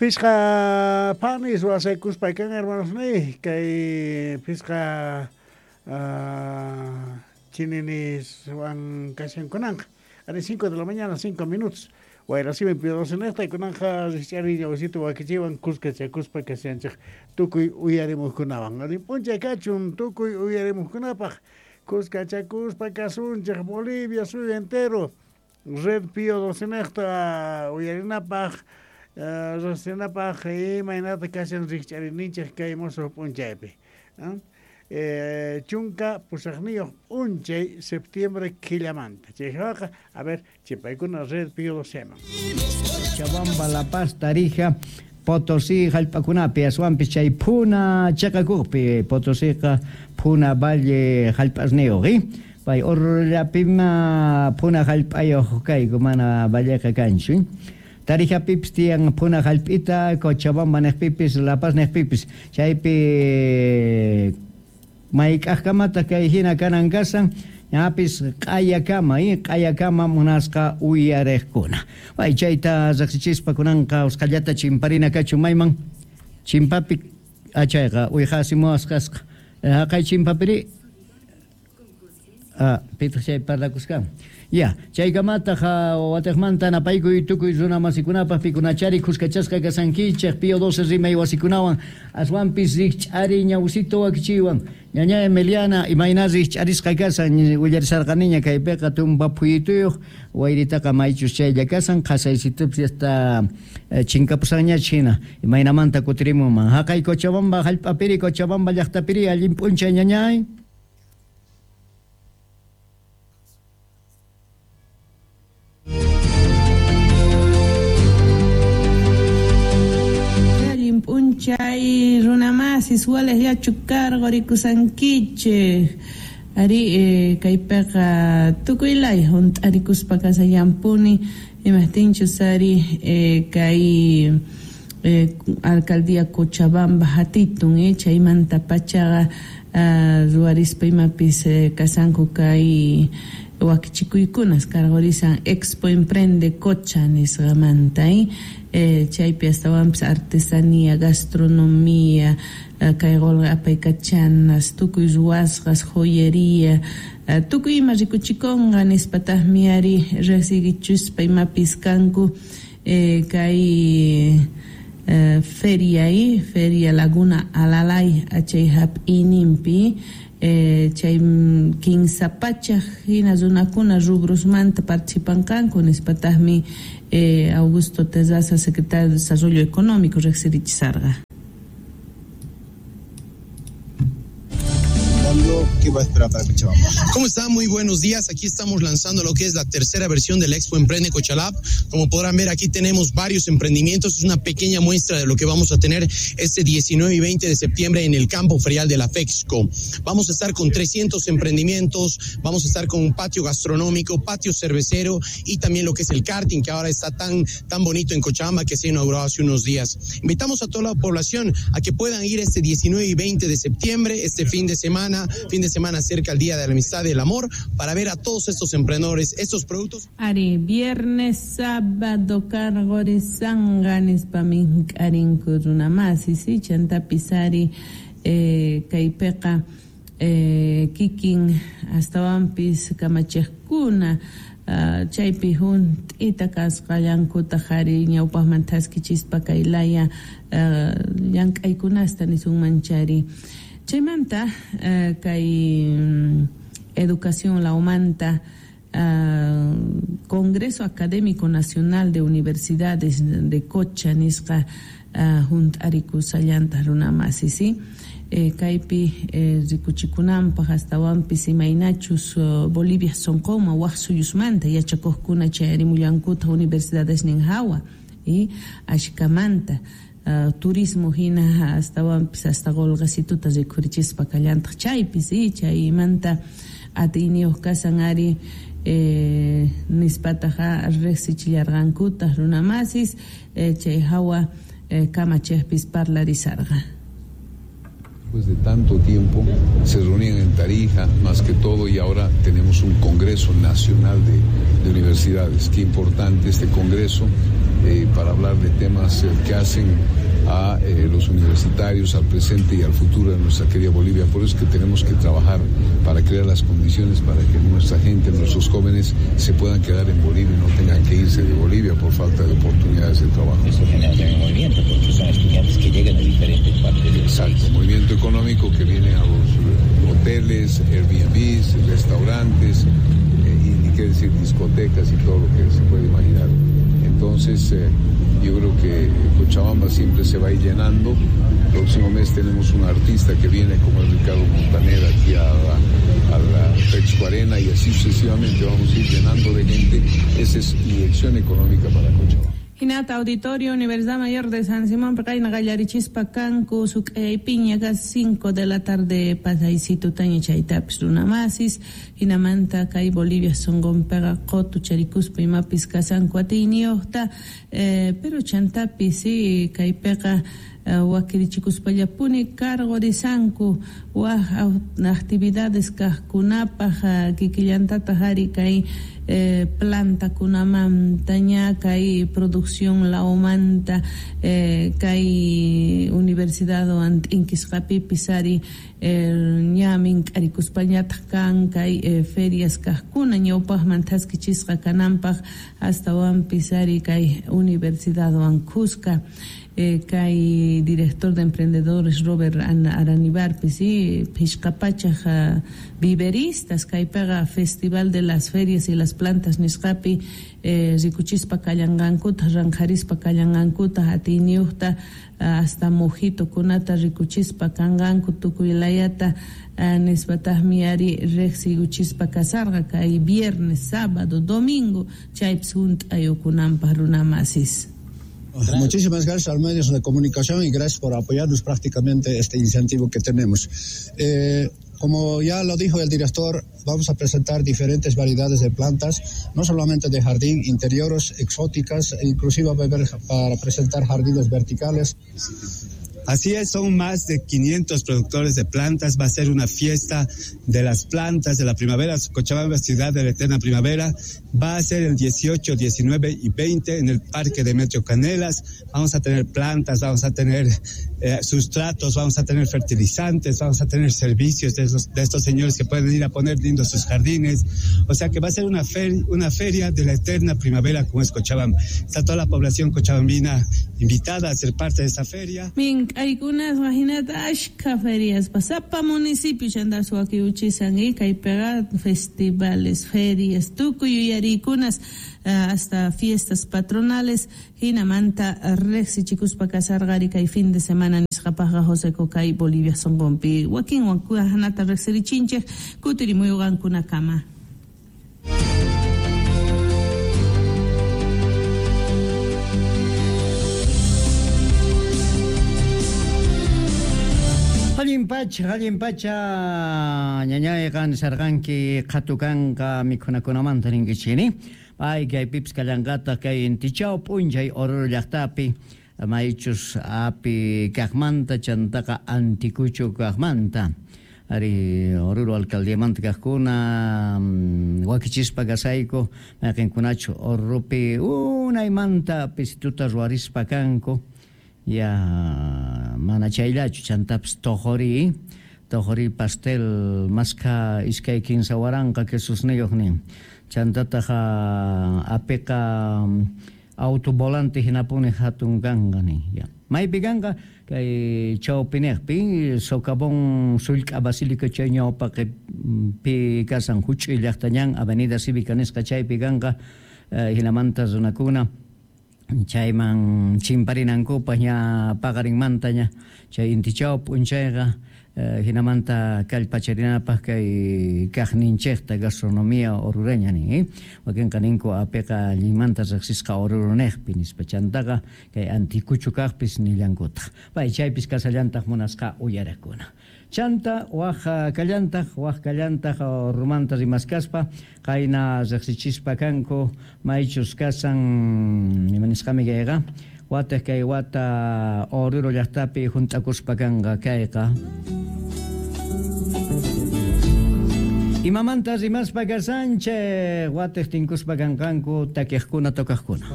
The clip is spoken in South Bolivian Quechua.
Pishqa panis wasaykuspa kan hermanosniy, kay pishqa chininiswan kashankunanqa. Ari 5 de la mañana, 5 minutos. Wayrasimi Pio 12 nejta, kunanqa rikch'ariy ñawsita wakichiwan kuskachakuspa kashanchej tukuy uyarimuqkunawan. Allin p'unchay kachun tukuy uyarimuqkunapaq kuskachakuspa kasunchej Bolivia suyu entero. Red Pío 12 nejta uyarinapaq, riqsinapaq imaynata kashan rikch'ariyninchej kay musuq p'unchaypi. 18 p'unchay septiembre killamanta. Chayqa, a ver, chipaykuna Red Pío 12 man. Cochabamba, La Paz, Tarija, Potosí jallp'akunapi aswanpis chay phuna chiqakuqpi Potosíqa phuna valle jallp'asniyuq pay Oruro-llapima phuna jallp'ayuq kayku mana valleqa kanchu. Tarijapipis tiyan phuna jallp'ita, Cochabamba niqpipis, La Paz niqpipis chaypi mayk'aqkamataq kay hina kanan kasan ñapis q'ayakama q'ayakama munasqa uyariqkuna. Pay chayta riqsichispa kunanqa usqhallata chimparina kachun mayman chimpapi achayqa uyqasimuwasqasqa haqay chimpapiri pitaq chay parlakusqa. Ya, chaykamataq watiqmanta napaykuy tukuy runa masikunapaq pikunachari kuskachasqa kasankichej Pío 12 rimay wasikunawan aswanpis rikch'ari ñawsito wakichiwan. Ñaña Emiliana imayna rikch'arisqa kasan willarisarqaniña kaypiqa tumpa phuyituyuq wayritaqa maychus chaylla kasan qhasaysitupis hasta chinkapusanñach hina imaynamanta kutirimunman. Haqay Cochabamba jallp'apiri Cochabamba llaqtapiri allin p'unchay ñañay. P'unchay runamasis walej yachu cargo rikusankichej ari kaypiqa tukuylay hunt'arikuspa kasallampuni imajtinchus ari kay alcaldía Cochabamba hatitun chaymanta pachaqa ruwarispa imapis kasanku kay wakichikuykunas cargorisan Expo Emprende Cocha nisqamanta chaypi astawanpis artesanía, gastronomía, kay qolqe apaykachanas, tukuy ruwasqas, joyería, tukuy ima rikuchikunqa nispataqmi ari riqsichuspa imapis kanku kay feria Feria Laguna Alalay achay hap'ininpi chay 15 pachaj hina runakuna rubrosmanta participanqanku nispataqmi Augusto Terraza, secretario de Desarrollo Económico, riqsirichisarqa. ¿Qué va a esperar para Cochabamba? ¿Cómo están? Muy buenos días. Aquí estamos lanzando lo que es la tercera versión del Expo Emprende Cochalab. Como podrán ver, aquí tenemos varios emprendimientos. Es una pequeña muestra de lo que vamos a tener este 19 y 20 de septiembre en el campo ferial de la FEXCO. Vamos a estar con 300 emprendimientos, vamos a estar con un patio gastronómico, patio cervecero y también lo que es el karting, que ahora está tan, tan bonito en Cochabamba, que se inauguró hace unos días. Invitamos a toda la población a que puedan ir este 19 y 20 de septiembre, este fin de semana cerca al Día de la Amistad y el Amor, para ver a todos estos emprendedores, estos productos. Ari, viernes, sábado, cargorisanqa nispa mink'arinku runamasi, si chantapis ari kaypiqa kikin astawanpis kamachiqkuna chaypi hunt'ita kasqallankutaq ari ñawpaqman thaskichispa kay laya llank'aykunasta nisunman chari. Chaymanta kay educación lawmanta Congreso Académico Nacional de Universidades de Cocha nisqa hunt'arikusallanta runamasi, si kaypi rikuchikunanpaq astawanpis imaynachus Bolivia sonqonman waq suyusmanta yachakuqkuna chayarimullankutaq universidades nin hawa ashkamanta turismo hina astawanpis hasta qolqesituta rikhurichispa kallantaq chaypis chaymanta atiyniyuq kasan ari nispataqa riqsichillarqankutaq runamasis chay hawa kamachejpis parlarisarqa. Después de tanto tiempo se reunían en Tarija más que todo y ahora tenemos un Congreso Nacional de Universidades. Qué importante este Congreso. Para hablar de temas que hacen a los universitarios, al presente y al futuro de nuestra querida Bolivia. Por eso es que tenemos que trabajar para crear las condiciones para que nuestra gente, nuestros jóvenes se puedan quedar en Bolivia y no tengan que irse de Bolivia por falta de oportunidades de trabajo. Eso genera también movimiento, porque son estudiantes que llegan de diferentes partes del país. Exacto, movimiento económico que viene a los hoteles, Airbnbs, restaurantes, y ni qué decir discotecas y todo lo que se puede imaginar. Entonces, yo creo que Cochabamba siempre se va a ir llenando. El próximo mes tenemos un artista que viene como es Ricardo Montaner aquí a la Expo Arena, y así sucesivamente vamos a ir llenando de gente. Esa es inyección económica para Cochabamba. Hinata Auditorio Universidad Mayor de San Simón, Pacayna Gallarichispa Kanku, Piña, casi 5 de la tarde, pasaysito taña chaytapis runamasis, Hinamanta, kay Bolivia songonpega qotu charikuspa imapis kasanku atiyniyuqta, pero chantapis kaypiqa wakirichikuspallapuni cargorisanku waj actividades kajkunapaj kikillantataq ari kay plantakunamanta ña kay producción laomanta kay universidadwan t'inkisqapipis ari ña mink'arikuspañataq kan kay ferias kajkuna ñawpaqman thaskichisqa kananpaq astawanpis ari kay universidadwan khuska. Kay director de emprendedores Robert Aranibarpis phishqapachaj viveristas kaypiqa Festival de las Ferias y las Plantas nisqapi rikuchispa kallanqankuta ranqharispa kallanqankuta atiyniyuqta hasta mojitokunata rikuchispa kanqanku tukuy layata nispataqmi ari riqsiyuchispa kasarqa kay viernes, sábado, domingo chaypis hunt'ayukunanpaq runamasis. Muchísimas gracias a los medios de comunicación y gracias por apoyarnos prácticamente este incentivo que tenemos. Como ya lo dijo el director, vamos a presentar diferentes variedades de plantas, no solamente de jardín, interiores, exóticas, inclusive va a haber para presentar jardines verticales. Así es, son más de 500 productores de plantas. Va a ser una fiesta de las plantas de la primavera. Cochabamba, ciudad de la eterna primavera. Va a ser el 18, 19 y 20 en el Parque Demetrio Canelas. Vamos a tener plantas, vamos a tener sustratos, vamos a tener fertilizantes, vamos a tener servicios de estos señores que pueden ir a poner lindos sus jardines. O sea que va a ser una feria de la eterna primavera como es Cochabamba. Está toda la población cochabambina invitada a ser parte de esta feria. Aykunas imaginata ashka ferias pasapa municipio chandas wakiuchisan kaypiqa festivales, ferias, tukuy yuyarikunas hasta fiestas patronales hinamanta riqsichikuspa kasarqari kay fin de semana nisqapaqqa José Cocay Bolivia sonqonpi wakinwan hanata riqsirichinchik kutirimuyuqankunakama. Allin pacha, ñañayqa nisarqanki qhatukanqa mikhunakunamanta ninkichini. Pay kaypipis kallanqataq kay intichaw p'unchay Oruro llaqtapi maychus api kaqmanta chantaqa antikuchu kaqmanta. Ari Oruro alcaldiamanta kaqkuna wakichispa kasayku mayqinkunachu Orurupi unaymanta pisituta ruwarispa kanku. Ya mana chayllachu chantapis toqori pastel maska iskay kinsa waranqa quesosniyuq nin chantataq apiqa autovolante hinapuni hatun kanqa nin ya maypi kanqa kay chawpiniqpi socavón sullk'a basílica chay ñawpaqpi kasan huch'uy llaqtañan avenida Cívica nisqa chaypi kanqa hinamanta runakuna chayman chimparinankupaq ña paqarinmanta ña chay intichaw p'unchayqa hinamanta kallpacharinapaq kay kaqninchikta gastronomía orureña nin wakinqa ninku apiqa allinmanta riqsisqa oruruniqpi nispa chantaqa kay antikuchu kaqpis nillankutaq pay chaypis kasallantaq munasqa uyarakuna. Chanta waj kallantaq orurumanta rimaskaspa qayna riqsichispa kanku maychus kasan imanisqami kayqa wataq kay wata Oruro llaqtapi hunt'akuspa kanqa kayqa. Imamanta rimaspa kasanchik wataq tinkuspa kanqanku takiqkuna tocaqkuna.